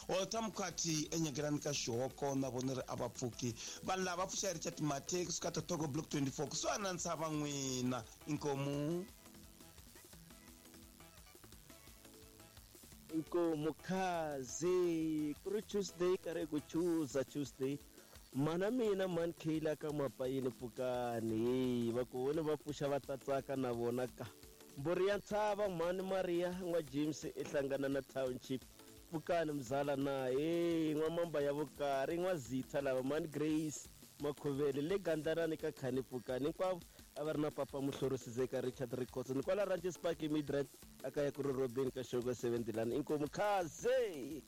Walter Mkhwathi enyekelani ka xihoko na vona ri a va pfuki. Vanhu lava va pfuxa Richard Mathe kusuka Totogo Block 24 kusuhani na ntshava n'wina. Inkomu. Inkomu khazi ku ri Tuesday karhi ku chuza Tuesday mana mina mani Kayla ka mapayini pfukani hey va ku vone va pfuxa va tsatsaka na vona ka mburi ya ntshava mhani Maria n'wa James i hlangana na township pfukani mzala na hey n'wa mamba ya vukari n'wa zitha lava mhani Grace Makhovele le gandlanani ka khani pfukani hinkwavo a va ri na papa muhlorisi zeka Richard Rikhotso ni kwala Ranches Park eMidrand a kaya ku ri Robin ka Shoko 7 Dilani inkomu khaze.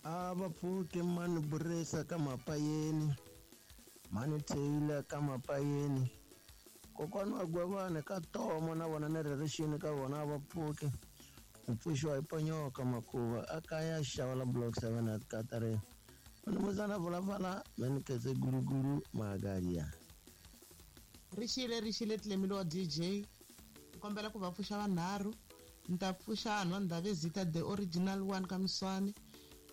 A va pfuki mani Burisa ka Mapayeni, mhani Taylor ka Mapayeni, kokwani wa Gwavani ka Tomo na vona ni ririxini ka vona a va pfuki. Ku pfuxiwa hi Ponyoka Makuva a kaya Xavala Block 7 at Katarina. Mnumuzana Vulafala Meniketse Gulugulu Magaria. Rixile rixile Tlemile wa DJ ni kombela ku va pfuxa vanharhu ni ta pfuxa hanhu wa Ndhavezitha the original one ka Miswani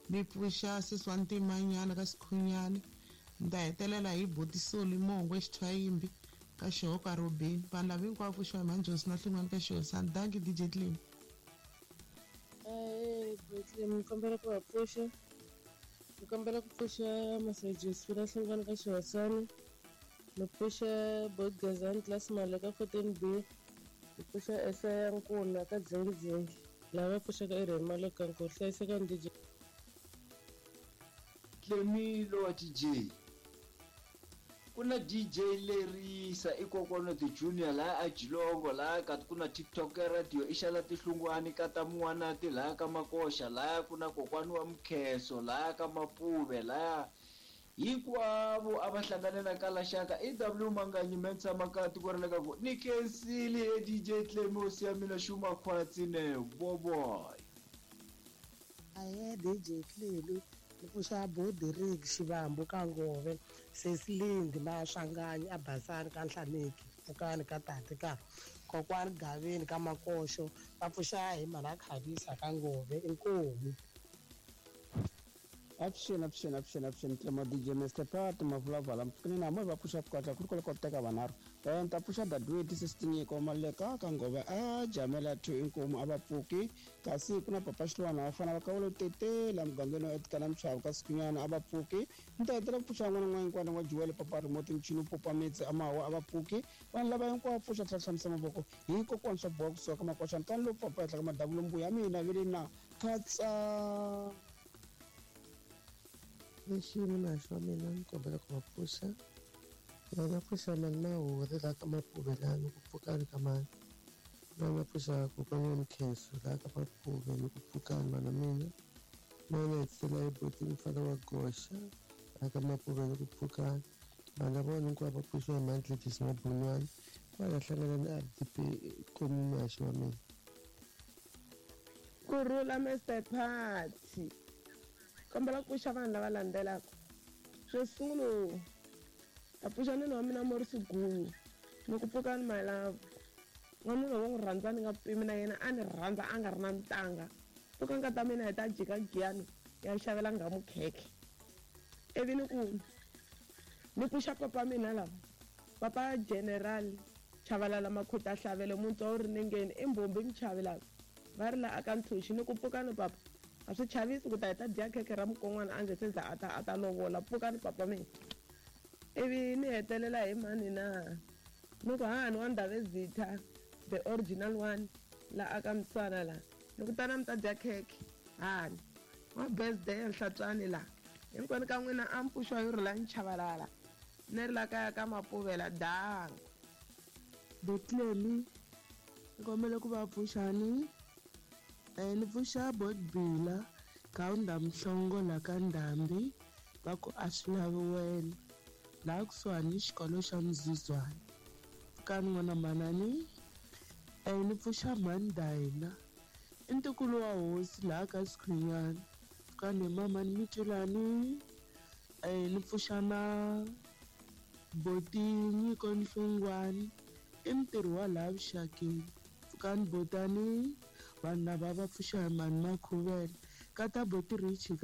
ni pfuxa sesi wa Ntimanyana ka Sikhunyani ni ta hetelela hi Buti Soli Mongwe Xithwayimbi ka Xihoka Robeni vanhu lava hinkwavo pfuxiwa hi Mhani na Hlungwani ka Xihosana dankie DJ Tlemi. Ahee Bethlehem ni kombela ku va pfuxa ni kombela ku pfuxa Masajesi na Hlungwani ka Xihosana ni pfuxa Bot Gezani class Male ka 14 B ni pfuxa Esaya Nkuna ka Dzingidzingi lava pfuxaka i Remy Maloka Nkosi hlayisekani DJ. Tlemilo wa DJ ku na DJ Lerisa i kokwana the junior laya a Jilongo laya ka ku na TikTok ya radio i xala tihlungwani ka ta Mun'wanati laya ka Makoxa laya ku na kokwani wa Mkheso laya ka Mapuve laya hinkwavo a va hlangane na Kalaxaka i W Manganyi Mensa Maka tiko ra le ka ku ni khensile he DJ Tlemi hosi ya mina xuma khwatsi ne boboy. Ahee DJ Tlemi ni pfuxa Boderig Xivambu ka Ngove Sesilindi Maswanganyi a Basani ka Nhlaneki Pfukani ka Tati ka Kokwani Gaveni ka Makoxo va pfuxa hi mhana Khavisa ka Ngove inkomu. Avuxeni avuxeni avuxeni avuxeni Tlema DJ Mr Pat Mavulavala mpfukeni na va pfuxa kwatla ku ri kwale ko teka vanharhu ni ta pfuxa Dadweti Sesitinyiko Maleka ka Ngove a Jamela 2 inkomu a va pfuki kasi ku na Papa Xilwana va fana va ka wolo tetela mugangeni wa Etikana Mchavu ka Sikunyana a va pfuki ni ta hetelela ku pfuxa n'wana n'wana hinkwana wa Juwele Papa Remote Mchini Popa Metsi a mawa a va pfuki vanhu lava hinkwavo pfuxa tlhela hlamusa mavoko hi kokwana swa boha kusuka ka makoxana tani lowu papa henhla ka madavulo mbuya mina vele na khatsa. Lexi mina xo mina ni kombela ku va pfuxa va nga pfuxa mani Mahuri laha ka Mapuve laha ni ku pfukani ka mani va nga pfuxa kokwana wa Mkhenso laha ka Mapuve ni ku pfukani vana mina va nga hetisela hi boti mfana wa Goxa laha ka Mapuve ni ku pfukani vanhu lava vona hinkwavo va pfuxiwa hi Mandlekisi Mabunwani kwala hlangana na RDP komumaxi wa mina. Kurhula Mr Party kombela ku pfuxa vanhu lava landzelaka xo sungula ta pfuxa nuna wa mina Morris Gulu ni ku pfuka ni my love n'wanuna wo n'wi rhandza ni nga pimi na yena a ni rhandza a nga ri na ntanga pfuka nkata mina hi ta jika giyani ya xavela nghamu khekhe ivi ni ku ni pfuxa papa mina lava papa general Chavalala Makhuta Hlavele Muntswa wu ri nengeni i mbhumbi Mchavi lava va ri la aka ntshunxi ni ku pfukani papa a swi chavisi ku ta hi ta dya khekhe ra mukon'wana a nge se za a ta a ta lovola pfukani papa mina ivi ni hetelela hi mani na ni ku hahani wa Ndhavezitha the original one la aka Mswana la ni ku tana mi ta dya khekhe hani wa birthday ya Nhlatswani la hinkwenu ka n'wina a mi pfuxiwa hi rhula Nchavalala ni ri la kaya ka Mapuvela dango. Betlemi ni kombela ku va pfuxani ni pfuxa Bot Bila Gawunda Mhlongo la ka Ndhambi va ku a swi lavi wena laha kusuhani ni xikolo xa Mzuzwana pfukani n'wana manani ni pfuxa mhani Dayina i ntukulu wa hosi laha ka Sikhunyana pfukani hi mamani Mitulani ni pfuxa na Boti Nyiko Nhlungwani i mutirhi wa laha vuxakeni pfukani botani vanhu lava va pfuxa hi mhani Makhuvele ka ta Boti Richi ka.